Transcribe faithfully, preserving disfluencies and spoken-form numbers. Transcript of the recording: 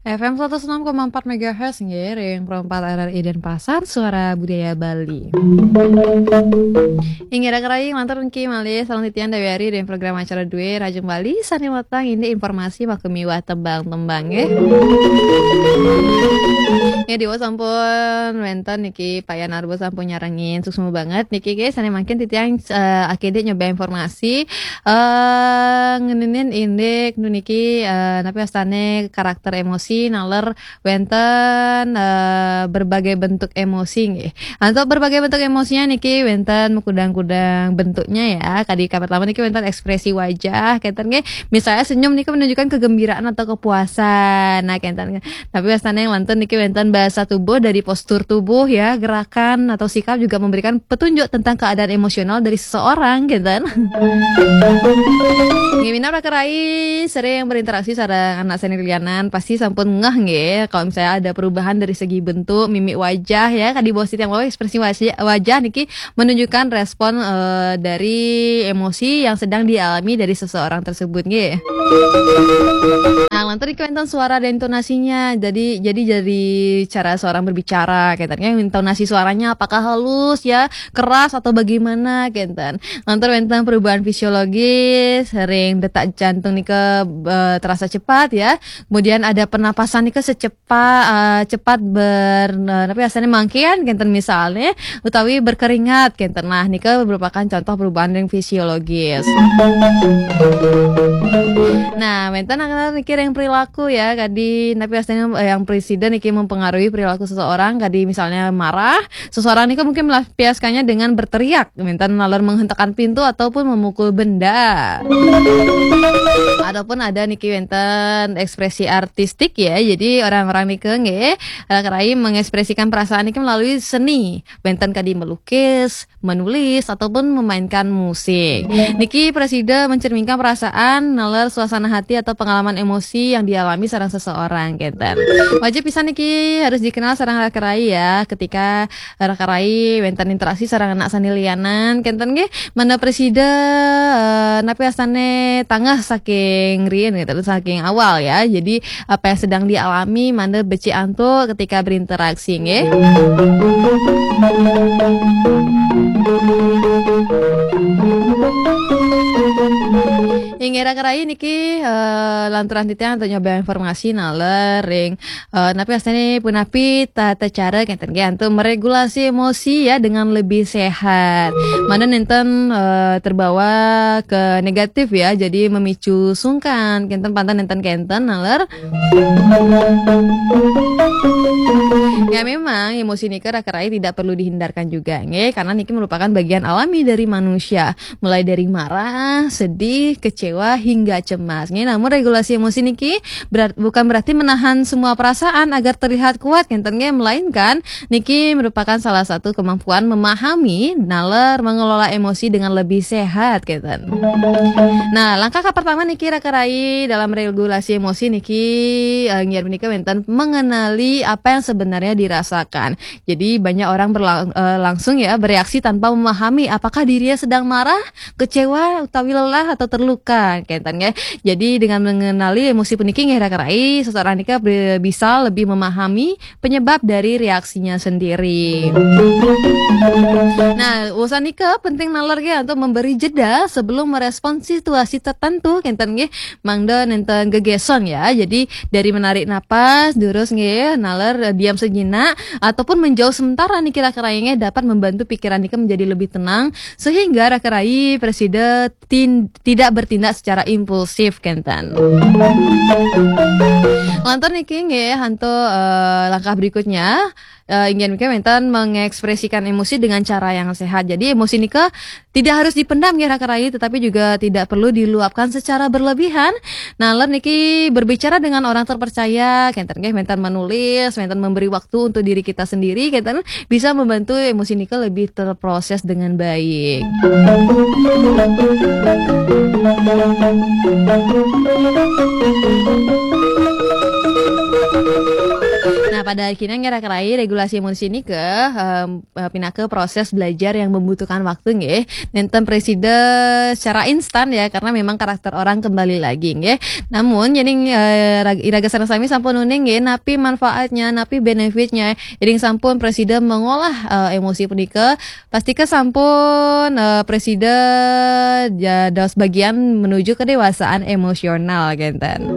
F M seratus enam koma empat megahertz nggih, ring perempat R R I Denpasar, Suara Budaya Bali. Inggih raka rayi, lantur niki malih sareng titiang Dewi Ari ring program acara Due Rajeng Bali, sane wetang indik informasi makamiwah tembang-tembang nggih. Ya, Dewa sampun wenten niki, Pak Yan Arbo sampun nyarengin, suksma banget niki nggih, sane mangkin titiang, eh, akedik nyoba informasi, eh, ngeninin indik nu niki, eh, napi wastane karakter emosi naler wenten, eh, berbagai bentuk emosi nggih. Nah, untuk berbagai bentuk emosinya niki wenten makudang-kudang bentuknya ya. Kadi kapertama niki wenten ekspresi wajah, kenten nggih. Misalnya senyum niki menunjukkan kegembiraan atau kepuasan. Nah, kenten. Tapi wastane yang lantur niki wenten bahasa tubuh dari postur tubuh ya, gerakan atau sikap juga memberikan petunjuk tentang keadaan emosional dari seseorang, kenten. Nggih, minab raka rayi sering berinteraksi sareng anak sane lianan, pasti sampun ngeh nggih, kalau misalnya ada perubahan dari segi bentuk, mimik wajah ya, kadi bos titiang wau, ekspresi wajah, wajah niki menunjukkan respon, eh, dari emosi yang sedang dialami dari seseorang tersebut nggih. Nah, lantur niki wenten suara dan intonasinya. Jadi, jadi dari cara seorang berbicara, kenten nggih, intonasi suaranya apakah halus ya, keras atau bagaimana, kenten. Lantur wenten perubahan fisiologis, sering detak jantung nika, eh, terasa cepat ya. Kemudian ada pernapasan nika secepat, eh, cepat ber, eh, napi wastane mangkian kenten misalnya, utawi berkeringat kenten. Nah, nika merupakan contoh perubahan yang fisiologis. Nah, wenten akan niki yang perilaku ya, kadi napi wastane, eh, yang presiden niki mempengaruhi perilaku seseorang, kadi misalnya marah, seseorang niki mungkin melampiaskannya dengan berteriak, wenten naler menghentakkan pintu ataupun memukul benda. Ataupun ada niki wenten ekspresi artistik ya. Jadi orang-orang niki nggih, raka rayi mengekspresikan perasaan niki melalui seni. Wenten kadi melukis, menulis, ataupun memainkan musik. Niki presida mencerminkan perasaan, naler suasana hati atau pengalaman emosi yang dialami sareng seseorang, kenten. Wajib pisan niki harus dikenal sareng raka rayi ya, ketika raka rayi wenten interaksi sareng anak sane lianan, kenten nggih, mangda presida, eh, napi wastane tanggah saking riin gitu, saking awal ya. Jadi apa yang sedang dialami mangda becik antuk ketika berinteraksi nggih. Inggih raka rayi niki, eh, lanturan titiang antuk nyoba informasi naler ring, eh, napi wastane punapi tata cara kenten nggih antuk meregulasi emosi ya dengan lebih sehat. Mangda nenten, eh, terbawa ke negatif ya, jadi memicu sungkan, kenten pantang nenten kenten naler. Ya memang emosi nika raka rayi tidak perlu dihindarkan juga nggih, karena niki merupakan bagian alami dari manusia, mulai dari marah, sedih, kecewa hingga cemas nggih. Namun regulasi emosi niki berat, bukan berarti menahan semua perasaan agar terlihat kuat kenten nggih, melainkan niki merupakan salah satu kemampuan memahami naler mengelola emosi dengan lebih sehat kenten. Nah, langkah pertama niki raka rayi dalam regulasi emosi niki, eh, nggih menika wenten mengenali apa yang sebenarnya dirasakan. Jadi banyak orang berlang-, eh, langsung ya bereaksi tanpa memahami apakah dirinya sedang marah, kecewa, utawi lelah atau terluka kenten nggih. Jadi dengan mengenali emosi puniki nggih raka rayi, seseorang nika be-, bisa lebih memahami penyebab dari reaksinya sendiri. Nah, urusan nika penting naler nggih untuk memberi jeda sebelum merespon situasi tertentu kenten nggih. Mangda nenten gegeson ya. Jadi dari menarik napas, durus nggih, naler, eh, diam sejenak ataupun menjauh sementara niki raka rayi nggih dapat membantu pikiran nika menjadi lebih tenang sehingga raka rayi presida tin-, tidak bertindak secara impulsif kenten. Lantur niki nggih antuk, eh, langkah berikutnya, eh, inggih menika wenten mengekspresikan emosi dengan cara yang sehat. Jadi emosi nika tidak harus dipendam nggih raka rayi, tetapi juga tidak perlu diluapkan secara berlebihan. Naler niki berbicara dengan orang terpercaya, kenten nggih wenten menulis, wenten memberi waktu untuk diri kita sendiri, kenten bisa membantu emosi nika lebih terproses dengan baik. Nah, Pada akhirnya nggih, raka rai, regulasi emosi niki, em, eh, pinaka proses belajar yang membutuhkan waktu nggih. Nénten prasida secara instan ya, karena memang karakter orang kembali lagi nggih. Namun yéning eh, rag- iraga sareng sami sampun uning nggih, napi manfaatnya, napi benefitnya, yéning sampun prasida mengolah eh, emosi punika, pastika sampun eh, prasida ja- dados bagian menuju kedewasaan emosional kénten.